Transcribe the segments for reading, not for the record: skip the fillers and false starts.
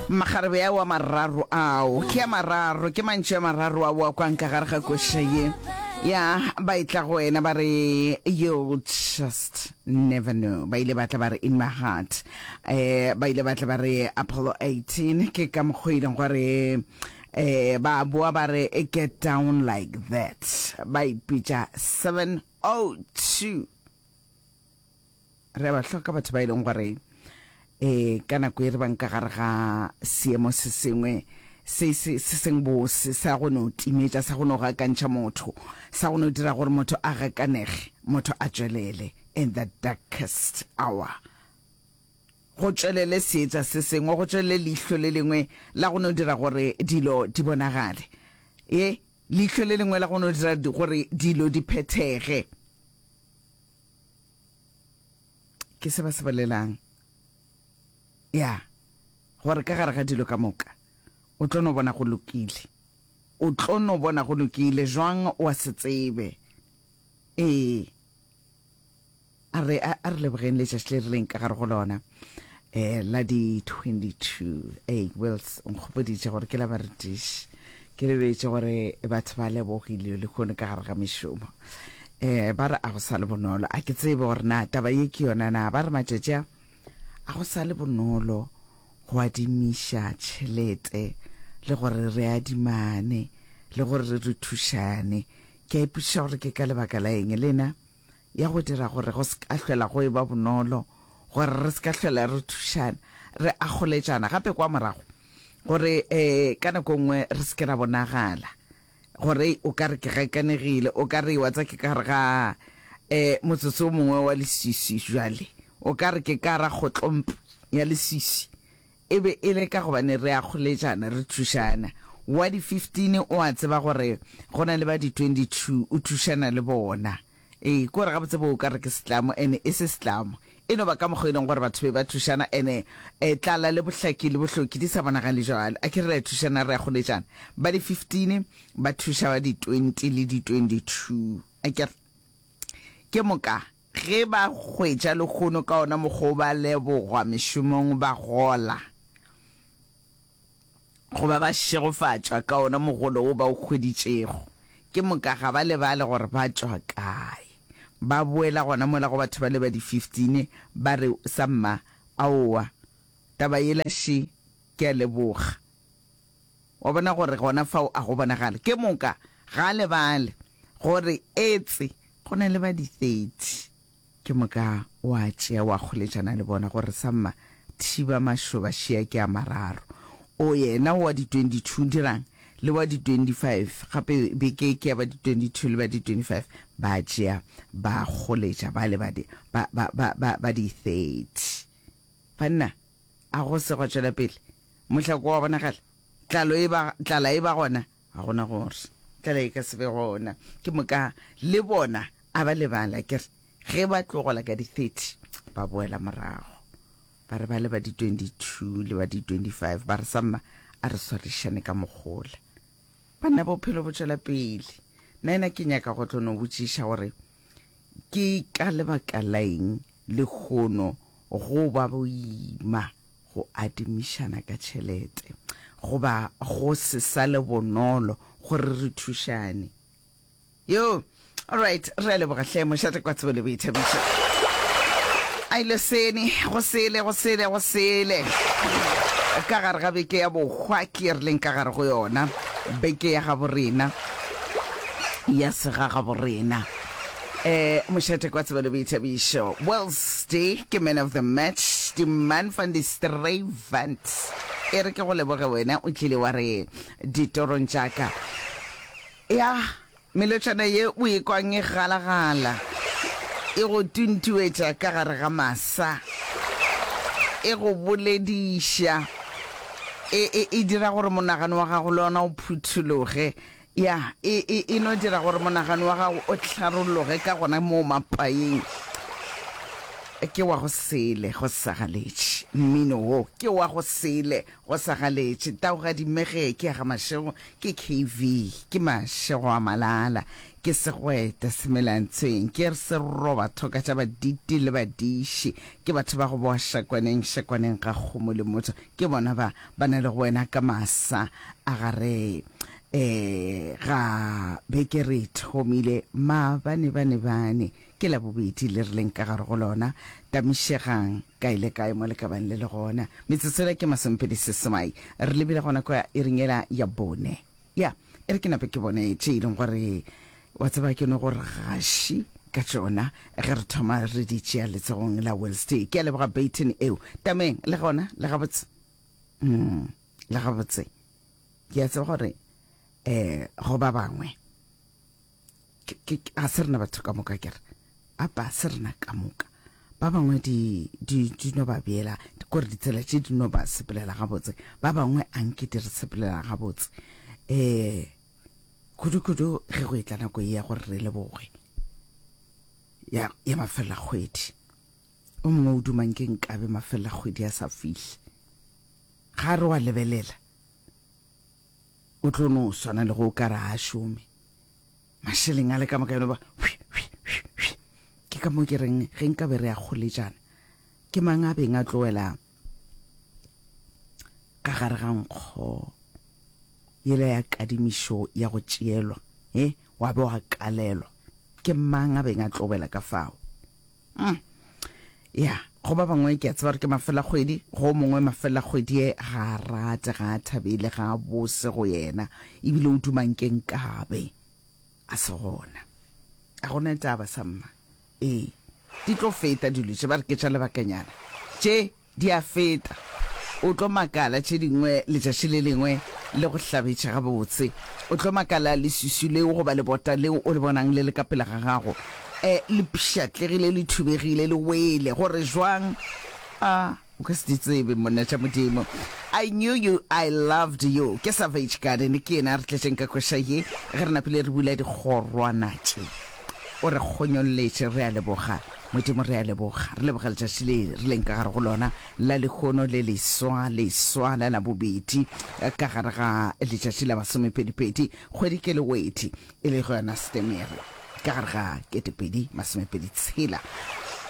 Makgarebe ao a mararo ao, ke a mararo, ke mantšu a mararo ao a kwang ka gare ga koša ye. Ya, ba etla go wena ba re, You'll just never know. Ba ile ba tla ba re, In my heart. Eh, ba ile ba tla ba re, Apollo 18. Ke ka mokgwa e leng gore eh, ba boa ba re, Get down like that. Ba ipitša 702. Re a ba hloka batho ba e leng gore um ka nako e re bang ka gare ga seemo se sengwe se se se seng bose sa go no timetša, sa go no gakantšha motho, sa go no dira gore motho a gakanege, motho a tšwelele in the darkest hour. Go tšwelele seetša se sengwe, go tšwelele leihlo le lengwe la go no dira gore dilo di bonagale. Ye, leihlo le lengwe la go no dira gore dilo di phethege. Ke se ba se bolelang. Ya, gore ka gare ga dilo ka moka, o tlo no bona go lokile. O tlo no bona go lokile, jwang wa se tsebe. Ee. A re, a, a re lebogeng letšatši le re leng ka gare go lona, eh, la di 22. Ee, Wills, o nkgopoditše gore ke la barutiši. Ke lebetše gore batho ba lebogile lehono ka gare ga mešomo. Eh, ba re a go sa le bonolo. A ke tsebe gore na taba ye ke yona na. Ba re matšatši a, a go sa le bonolo go adimiša tšhelete le gore re adimane le gore re thušane. Ke a ipotšiša gore ke ka lebaka la eng lena ya go dira gore go se ka hlwela go eba bonolo gore re se ka hlwela re thušana, re akgoletšana gape kwa morago gore um ka nako nngwe re se ke ra bonagala. Gore o ka re ke gakanegile, o ka re wa tsa ke ka gare ga um motsotso o mongwe wa leswiswi jwale, o ka re ke ka ra kgotlomp ya leswiswi. E be e le ka gobane re a kgoletšana, re thušana. Wa di 15 o a tseba gore go na le ba di 22, o thušana le bona. Ee, ke gore gabotse bo o ka re ke setlamo, ene e se setlamo. E no ba ka mokgwa e leng gore batho be ba thušana, ene e, tlala le bohlaki le bohloki di sa bonagale jwalo. A ke re re a thušana, re a goletšana. Ba di 15 ba thuša ba di 20 le di 22. A ke re? Ke moka ge ba hwetša lehono ka ona mokgwa o ba lebogwa mešomong ba gola. Goba ba šegofatšwa ka ona mogolo wo ba o hweditšego. Ke moka ga ba lebale gore ba tšwa kae. Ba boela gona mola go batho bale ba di 15 ba re, Samma, aowa, taba yela še, ke a leboga. Wa bona gore gona fao a go bonagale. Ke moka ga a lebale gore etse go na le ba di 30. Ke moka wa tšea wa kgoletšana le bona gore samma thiba mašoba šea ke a mararo. O yena wa di 22 dirang le wa di 25 gape beke ke ya ba di 22 le ba di 25 ba tšea ba kgoletša ba le ba di ba ba ba ba ba di 30. Banna a go se gwa tšwela pele mohlako wa bonagala tlalo e ba tlala e ba gona ga gona gore tlala e ka se be gona. Ke moka le bona A ba lebala, ke re, ge ba tlogola ka di 30, ba boela morago. Ba re ba le ba di 22 le ba di 25, ba re, Samma, a re swarišane ka mogola. Banna, bophelo bo tšwela pele. Nnaena ke nyaka go tlo no botšiša gore ke ka lebaka la eng lehono go ba boima go adimišana ka tšhelete, goba go se sa le bonolo gore re thušane. Yo, alright, re a leboga hle, mošate kwa tsebo le boithabišo. A ile sene, go sele, go sele, go sele. Ka gare ga beke ya bohwa ke re leng ka gare go yona, beke ya gabo rena, ya segagabo rena. Eh, mošate kwa tsebo le boithabišo. Wednesday ke man of the match, di man van die Strayvant. E re ke go leboge wena, o tlile wa re ditorong tša ka. Ya, melotšana ye o e kwang e galagala, e go tuntuetša ka gare ga masa, e go bolediša, e, e, e dira gore monagano wa gago le ona o phuthologe. Ya, e, e, e no dira gore monagano wa gago o hlarolloge ka gona moo mapaeng. Ke wa go sele, go sagaletše. Mmino wo ke wa go sele, go sagaletše. Taugadi Mmege ke ya ga Mashego, ke KV, ke Mashego a Malala. Ke segwete semelantshweng, ke seroba thoka tša baditi le badiši, ke batho ba go boa šakwaneng, šakwaneng ga kgomo le motho, ke bona ba ba na le go wena ka masa a gare e ga beke re thomile maabane bane bane, ke Labobedi le re leng ka gare go lona, tamišegang kae le kae mo le ka bang le le gona. Metsotso yela ke masomepedi seswai, re lebile gona kwa iring yela ya bone. Ya, e re ke nape ke bone tše e leng gore wa tseba ke no gore gaši ka tšona ge re thoma re di tšea letsogong la Wednesday. Ke a leboga Baton eo. Tameng, le gona, le gabotse? Mm, le gabotse. Ke a tseba gore eh go ba bangwe ga se rena batho ka moka kere apa se rena ka moka ba bangwe di di di no ba beela kore ditsela tše di no ba sepelela gabotse ba bangwe a nke di re sepelela gabotse um kudu-kudu ge go etla nako ye ya gore re leboge ya ya mafelela kgwedi o mongwe o dumang ke nkabe mafelela kgwedi a sa fihle ga re wa lebelela o tlo no swana le go o ka re a šome Mašeleng a le ka moka yone ba ke ka mo ke reng ge nka be re ya kgoletšana ke mang a beng a tlo wela ka gare ga nkgo yela ya kadimišo ya go tšeelwa e wa be wa kalelwa ke mang a beng a tlo wela ka fao mm. ya go ba bangwe ke a tseba gore ke mafelakgwedi go mongwe mafelakgwedi e ga a rate ga a thabele ga a bose go yena ebile o dumang ke nkabe a se gona a gona taba sa mma ee di tlo feta dilo tše ba re ke tša lebakanyana tše Di a feta. O tlo makala tše dingwe letšatši le lengwe le go hlabetše gabotse. O tlo makala leswiswi leo goba lebota leo o le bonang le le ka pele ga gago e le pšhatlegile, le thubegile, le wele. Gore jwang? A o ka se di tsebe, monna tša Modimo. I knew you, I loved you. Ke Savage Garden, ke yena a re tletšeng ka koša ye ge re napile re bula dikgorwana tše. O re kgonyolletše, re a leboga. Modimo, re a leboga. Re leboga letšatši le re leng ka gare go lona la lehono le leswa, leswa la Labobedi, ka gare ga letšatši la masomepedipedi, kgwedi ke Lewedi, e lego yona Setemere, ka gare ga 2027 tshela.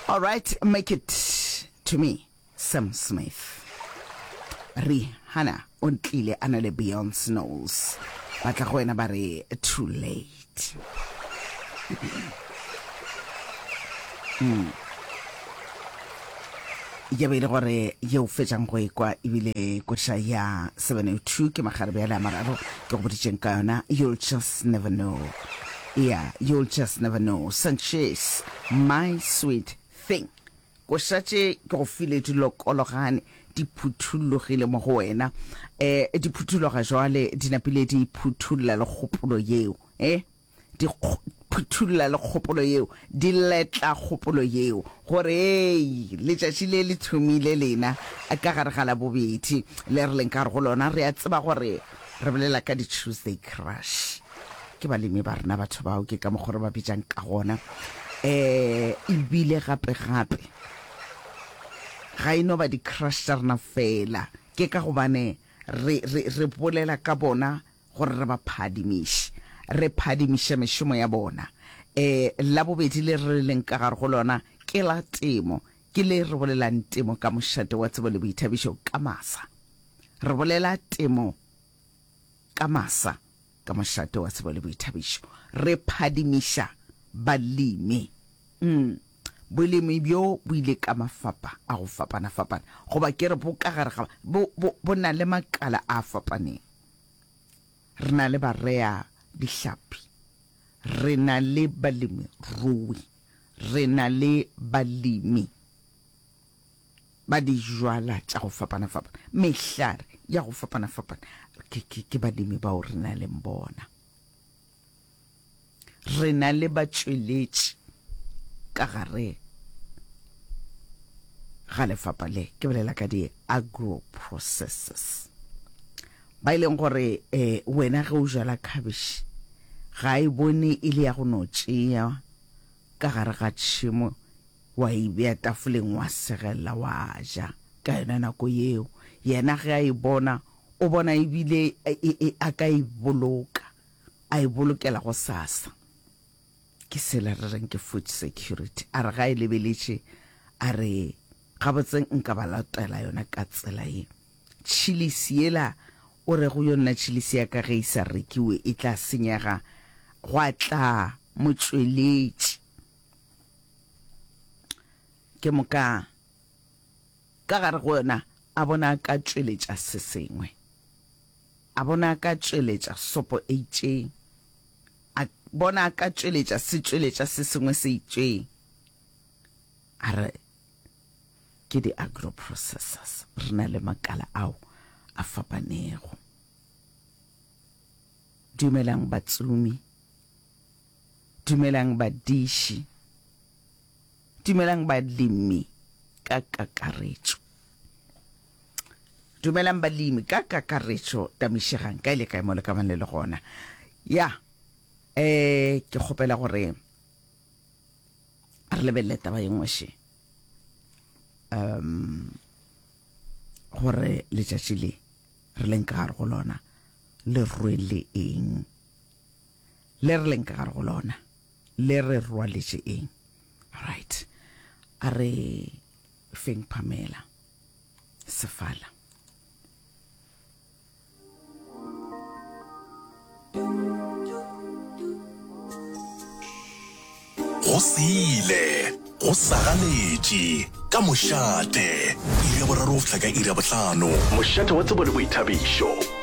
All right, make it to me. Sam Smith. Rihanna o ntlile a na le Beyonce Knowles. Ba tla go wena ba re too late. Mm. Ya be e le gore yeo fetšang go ekwa ebile koša ya 702 ke magarebe a le a mararo ke go boditšeng ka yona you'll just never know yeah you'll just never know Sanchez my sweet thing Koša tše ke go file di lokologane, di phuthullogile mo go wena. E, di phuthuloga jwale, di napile di phuthulla le kgopolo yeo. E, di phuthulla le kgopolo yeo, di letla kgopolo yeo, gore, Hei, letšatši le le thomile lena ka gare ga Labobedi le re leng ka gare go lona. Re a tseba gore re bolela ka di-Tuesday Crush. Ke balemi ba rena batho bao, ke ka mokgwa re ba bitšang ka gona. Um ebile gape-gape ga e no ba di-crush tša rena fela, ke ka gobane re, re, re bolela ka bona gore re ba phadimiše, re phadimiša mešomo ya bona. Um Labobedi le re leng ka gare go lona ke la temo, ke le re bolelang temo ka mošate wa tsebo le boithabišo ka masa. Re bolela temo ka masa. Ka mošate wa tsebo le boithabišo, re phadimiša balemi. Mm. Bolemi bjo bo ile ka mafapa a go fapana-fapana, goba ke re bo ka gare ga, bo, bo, bo na le makala a fapaneng. Re na le barea dihlapi, re na le balemirui, re na le balemi. ba dijwala tša go fapana-fapana, mehlare ya go fapana-fapana. Ke, ke, ke balemi bao re na leng bona. Re na le batšweletši ka gare ga lefapa le, ke bolela ka di-agro processes, ba e leng gore eh, wena ge o jala khabetšhe ga e bone e le ya go no tšea ka gare ga tšhemo wa e bea tafoleng wa segella wa ja ka yona nako yeo. Yena ge a e bona, o bona e bile e, e, a ka e boloka, a e bolokela gosasa. Ke sela re reng ke food security. A re ga e lebeletše, a re gabotse nka ba latela yona ka tsela ye. Tšhilisi yela o rego yo nna tšhilisi ya ka ge e sa rekiwe e tla senyega, gwa tla motšweletši. Ke moka ka gare go yona a bona a ka tšweletša se sengwe. A bona a ka tšweletša sopo e itšeng. A bona a ka tšweletša setšweletša se sengwe se itšeng. A re, Ke di-agro-processors. Re na le makala ao a fapanego. Dumelang batsomi. Dumelang badiši. Dumelang balemi ka kakaretšo. Dumelang balemi ka kakaretšo. Tamišegang kae le kae mo le ka bang le le gona. Ya, eh, ke kgopela gore re lebelele taba ye nngwe še. Um, gore letšatši le re leng ka gare go lona le rwele eng? Le re leng ka gare go lona le re rwaletše eng? Right. A re feng Pamela Sefala. Go sile, go sagaletše, ka mošate, iri ya boraro go fihla ka iri ya bohlano. Mošate wa tsebo le boithabišo.